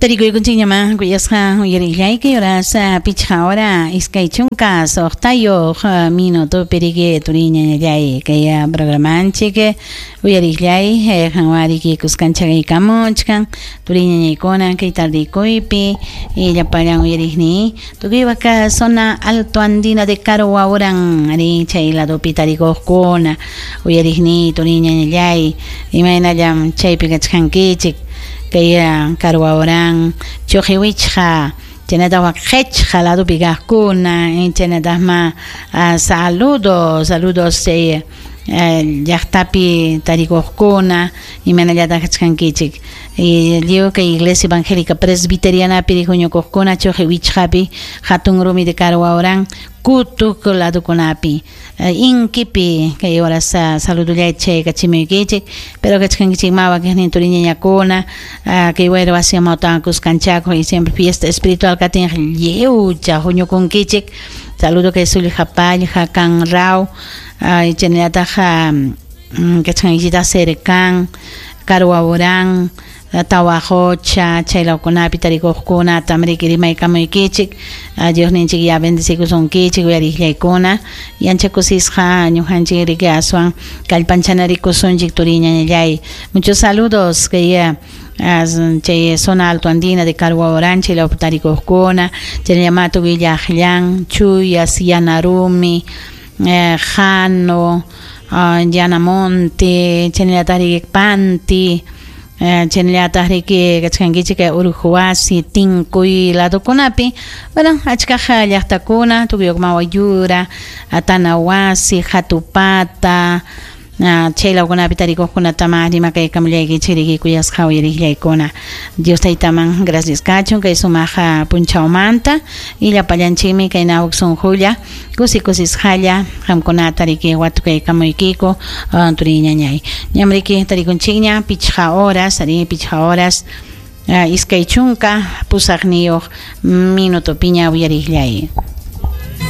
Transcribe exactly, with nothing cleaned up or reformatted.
Tarikuykunchikñama kuyasqa uyariqllayki horas pichqa hora iskay chunka suqtayuq minutopi riki turiñañallay kay programanchik uyariqllay qanwariki kuskanchakaykamuchkan turiñañaykuna kay tardikuypi llapallan uyariqni tukuypaq zona alto andina de Carohuaurán ari chay ladopi tarikuqkuna uyariqni turiñañallay imaynallam chaypi kachkankichik kay Carohuaurán Chuqiwichqa chaynataq waqqichqa ladopi kaqkuna chaynataqma saludos saludos chay llaqtapi tarikuqkuna imaynallataq kachkankichik lliw kay Iglesia Evangélica Presbiterianapi huñukuqkuna Chuqiwichqapi hatun rumi de Carohuaurán Kutuk ladokunapi inkipi kay horas saludullay chaykachimuykichik pero kachkankichik mawa kaqnin turiñañakuna kay wayra wasi amawtawan kuskanchakuq y siempre fiesta espiritual katinqa lliwcha huñukunkichik saludo kay Sullqapallqa Kanraw chaynallataq kachkankichikta Cercán Carohuaurán Tawajocha chaylawkunapi tarikuqkuna tamriki rimaykamuykichik Diosninchik ya bendecikusunkichik uyariqllaykuna y ancha kusisqa ñuqanchik riki aswan kallpanchanarikusunchik turiñañallay muchos saludos kay chay zona alto andina de Carohuaurán chaylawpi tarikuqkuna chaynallamá tukuy llaqllan Chuyas Yanarumi Jano Yanamonte chaynallataq riki Panti chaynallataq riki kachkankichik Urujuwasi Tinkuy ladokunapi bueno achkaq llaqtakuna tukuyuqma Wayura Tanawasi Hatupata chaylawkunapi tarikuqkunatama rimakaykamullaykichik riki kuyasqa uyariqllaykuna Dios taytaman gracias kachun kay sumaq punchawmanta y llapallanchikmi kay nawuk sunqulla kusi kusisqalla qamkunata riki watukaykamuykiku turiñañay ñam riki tarikunchikña pichqa horas ari pichqa horas iskay chunka pusaqniyuq minutopiña uyariqllay.